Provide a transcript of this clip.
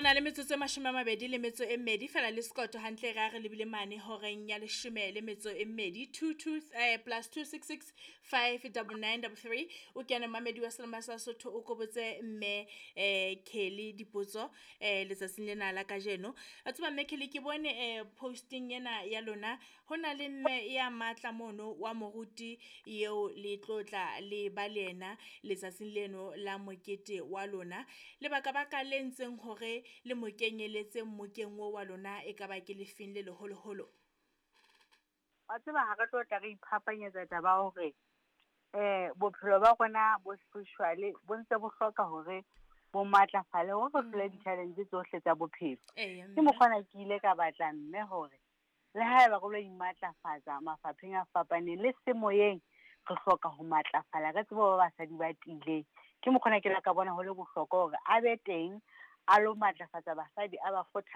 na le metsotso e 22 fela le sekoto hantle re a re lebile mane horeng ya 12. 22 +266 599 33 o kene mamedi wa Selema sa Sotho o kobotse mme Kelly dipotso letsatsing lena la kajeno. A tseba mme Kelly, ke bone posting ena ya lona ho na le mme ya matla mono wa moruti eo le tlotla le ba le yena letsatsing leno la mokete wa lona. Lebaka baka le ntseng hore le mo kenyeletse mmokeng o wa lona e ka ba ke lefeng le leholoholo? Wa tseba, ha re tlo tla re iphapanyetsa taba ya hore bophelo ba rona bo spiritual bo ntse bo hloka hore bo matlafale hore re hlole di-challenge tsohle tsa bophelo. Ke mokgwa ke ile ka batla mme hore le haeba re lo imatlafatsa mafapheng a fapaneng le semoyeng, re hloka ho matlafala, re tsebe ho ba basadi ba tiileng. Ke mokgwa ona ke la ka bona ho le bohlokwa hore a be teng, a lo matlafatsa basadi, a ba kgotha.